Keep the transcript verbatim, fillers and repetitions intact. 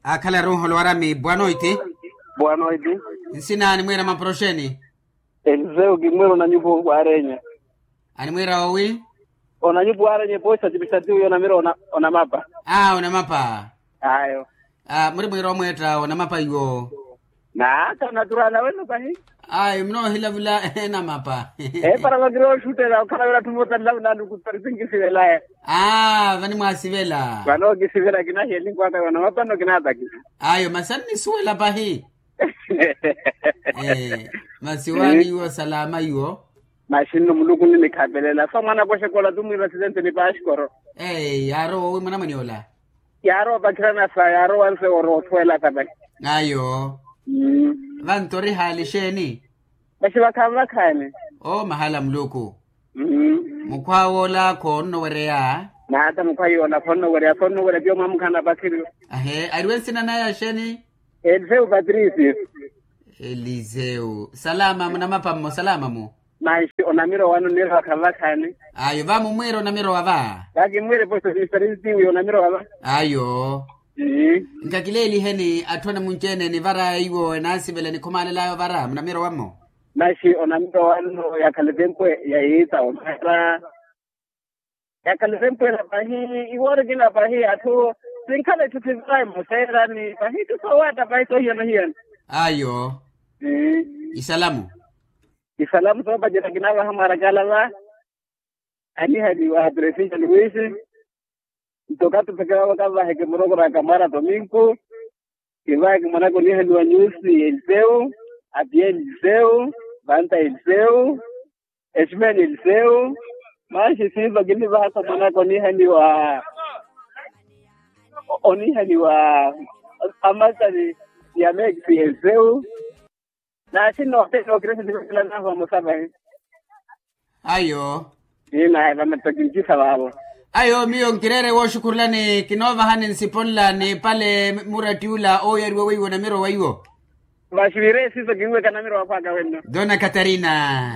Akhalaru nholwarami bwanoiti. Bwanoiti. Nsina animwiira maporoxeni? Eliseu kimwiira onanyupu waarenye. Animwiira owi? Onanyupu waarenye poisa tipisa tiwi onamira onamapa. Aa onamapa. Ayo. Muri mwiira omweetta onamapa iwo? Naaka naturala weno pahi. Ayo munoohilavula enamapa. Epara vakira oxuttela okhala wira atthu moota nlavula anukuttari sinkisivelaye. Aa vani mwaasivela? Vano okisivela kinahiya elinkwaka yona mapano kinaataki. Ayo masi annisuwela pahi. Masi waani iwo salama iwo. Masi nno muluku nninikhapelela so mwanaka oxekola tumwiira asidente ni paxikoro. Yaarowa owi mwanamwane ola? Yaarowa opakhirana sa yaarowa nse orowa osuwela sa pahi. Ayo. Vanto ori haali xeeni? Masi vakhaani vakhaani. Oo mahala muluku. Mukhwa woola khoonnowereya. Naata mukhwa yoola khoonnowereya khoonnowereya piyo mwamukhana pakhiriyo. Ahe ariwe nsina naya xeeni? Eliseu patricio. Eliseu salama munamapa mmo salama mu? Manxi onamira owano nniira vakhaani vakhaani. Ayo va mumwiira onamira owa va? Vakimwiira eposo sistarintiwi onamira owa va? Ayo. Nkakileeliheni atthu anamunci-ene enivara iwo enaasivela enikhumaalelaya ovara munamira owammo? Maxi onamira owanno yakhala etempu ya yiita omara. Yakhala etempu ela pahi iwoori kina pahi atthu sinkhala etthu sivara emoseerani pahi itthu soowatta pahi soohiyana-hiyana. Ayo. Isalamu. Isalamu soopacerya kinaavaha mwarakala va. Anihaliwa presinya luwisi. Nto katupeke vavo kavaheke murokoraka mwara tominku. Kivaheke mwanaka onihaliwa nyusi eliseu, apiya eliseu, vanta eliseu, eximeni eliseu. Maxi siiva kinivahaka mwanaka onihaliwa onihaliwa amasani ya mekisi eliseu. Naxi nootela okiresi nivekelanahu vamosa vahi. Ayo. Ii naye vametta kincisa vaavo. Ayo miyo nkireere wooxukhurulani kinoovahani nsipo nla niipale muratti ula ooyariwa weiwo namiro weiwo. Vaxi viire siiso kinweka namiro wakhwaka wenno. Dona katarina.